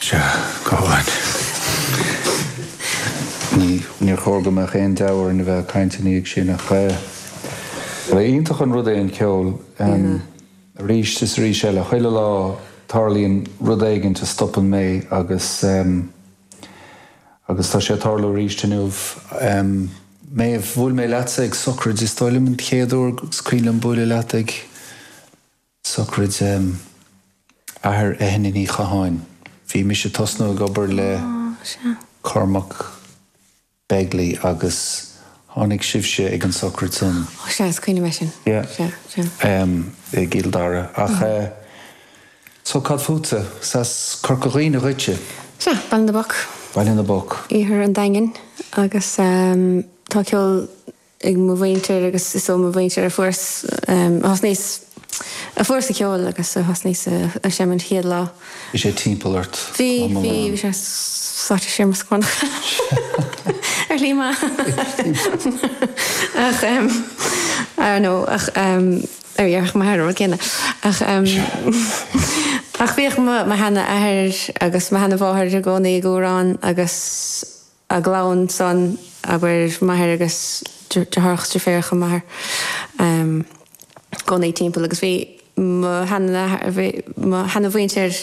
Sea, go hálainn. Ní, níor chóir go mbeadh aon deabhadh orainn a bheith ag caint ina dhiaidh sin ach eh, ba iontach an rud é an ceol. Arís is arís eile, chuile lá tarlaíonn rud éigint a stopann mé agus agus tá sé ag tarlú arís inniu. Méabh, bhuail mé leatsa ag socraid, is dóigh liom an chéad uair is cuimhin liom bualadh leat ag socraid athair Eithne Ní Chatháin. Bhí mise ag tosnú ag obair le Cormac Begley agus tháinig sibhse ag an socraid san. Ó sea, is cuimhin liom é sin. Yeah. Sea, sea. I gCill Dara. Ach so cad fútsa? Is as Corca Dhuibhne dhuitse? Sea, Baile na bPoc. Baile na bPoc. Iarthar an Daingin agus tá ceol ag mo mhuintir agus is ó mo mhuintir a fuaireas, a thosnaíos, a fuaireas an ceol agus a thosnaíos a seinm an chéad lá. Bhí sé timpeall ort Bhí, bhí, bhí sé sáite siar mo scornach ar shlí maith. Ach I don't know ach ar dhéarfadh m'athair an rud céanna ach ach bhíodh mo mo sheana-athair agus mo sheana-mháthair i gcónaí ag amhrán agus a gclann san, abair, m'athair agus deartháireacha is deirfiúracha m'athar, i gcónaí timpeall agus bhí mo sheana, bhí mo sheana-mhuintir.